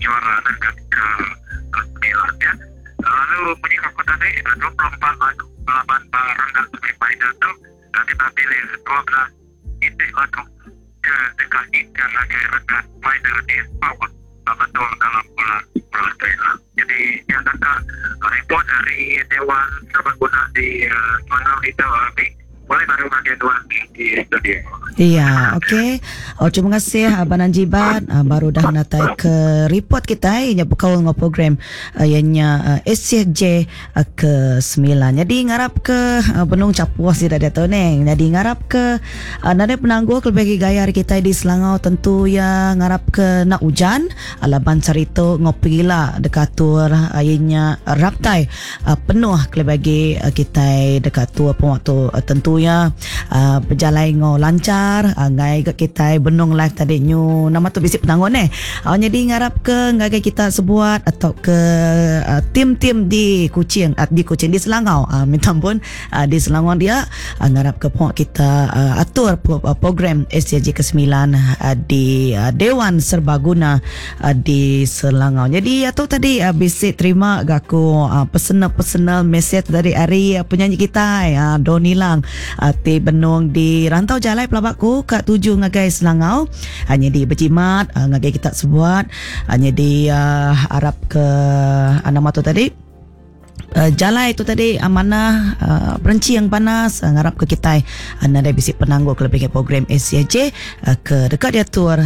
juara nangkan ke semilan nya. Lalu munyi ku aku tadi 24 lagu belaban ba renggat semi final tu kita pilih 12 iti lagu ke deka nyingkang ngagai renggat final di Sarawak betul dalam bulan bulan tu ila. Jadi nya naka ripot ari Dewan Serbaguna di Selangau ditu ami pulai baru ngagai nuan di studio. Iya, okey. Oh, terima kasih Abang Anjibat baru dah natai ke report kitai nya bekaul enggau program iya nya SCJ ke semilan. Nyadi ngarap ke benung chapuh sida diatu neh. Nyadi ngarap ke nadai penanggul kelebih agi gaya ari kitai di Selangau tentu iya ngarap ke enda ujan laban sehari tu enggau pegila deka atur iya nya raptai penuh kelebih agi kitai deka atur pengawa tu tentu iya bejalai enggau lanchar enggai ga kitai benung live tadi nyu nama tu bisi penanggul neh. Nyadi ngarap ke ngagai kita sebuat atau ke tim-tim di Kuching di Kuching di Selangau minta ampun di Selangor dia ngarap ke pengawa kita atur program SCG ke semilan di Dewan Serbaguna di Selangau. Nyadi atu tadi bisi terima ga aku personal-personal message dari ari penyanyi kitai Donny Lang ti benung di rantau jalai pelaba ku ka tuju ngagai Selangau. Nyadi bejimat ngagai kita sebuat nyadi arap ke nama tu tadi jalai tu tadi manah berenching panas ngarap ke kitai nadai bisi penanggul ke lebih program ACJ ke deka diatur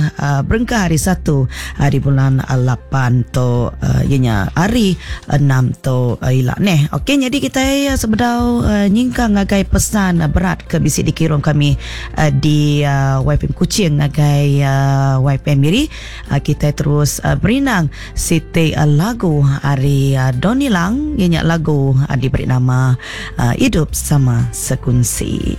berengkah hari satu hari bulan lapan tu iya nya hari enam tu ila neh. Okey nyadi kitai sebedau nyingkang ngagai pesan berat ke bisi dikirum kami di YPM Kuching ngagai YPM Miri kitai terus berinang siti lagu ari Donny Lang iya nya lagu diberi nama Idup Sama Sekunsi.